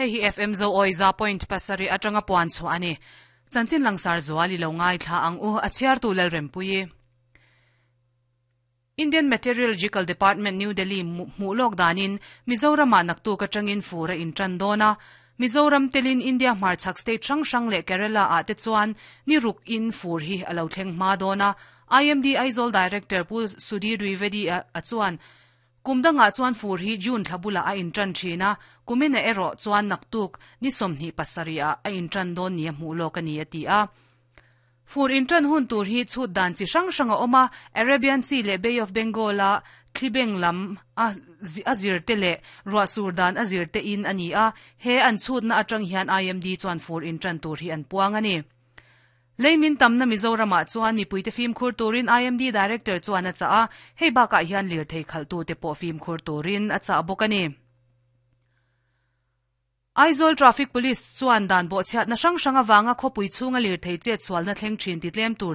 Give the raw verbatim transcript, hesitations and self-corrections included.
Hei hi F M Zo Awi za point pasarih atanga puan chhuah a ni. Chanchin langsar zual i lo ngaithla ang u, a chhiartu Lalrempuii. Indian Meteorological Department, New Delhi hmuh lawk danin Mizoramah naktuk atangin fur a intan dawn a. Mizoram telin India hmarchhak state hrang hrang leh Kerala ah te chuan ni ruk in fur hi a lo thleng hma dawn a. I M D Aizawl Director Pu Sudhir Dwivedi a chuan kum dangah chuan fur hi June thla bulah a intan thin a, kumin a erawh chuan naktuk ni sawmhnih pasarih ah a intan dawn ni a hmuh lawk a ni a ti a. Fur intan hun tur hi chhut dan chi hrang hrang a awm a, Arabian Sea leh Bay of Bengal a thlibeng lam a zir te leh ruah sur dan a zir te in a ni a, he an chhutna atang hian I M D chuan fur intan tur hi an puang a ni. Leimin tamna Mizoramah chuan mipuite fimkhur turin I M D Director chuan a chah a, hei bakah hian lirthei khalhtute pawh fimkhur turin a chah bawk a ni. Aizawl Traffic Police chuan dan bawhchhiatna hrang hrang avanga khawpui chhunga lirthei chet sualna thleng thin ti tlem tur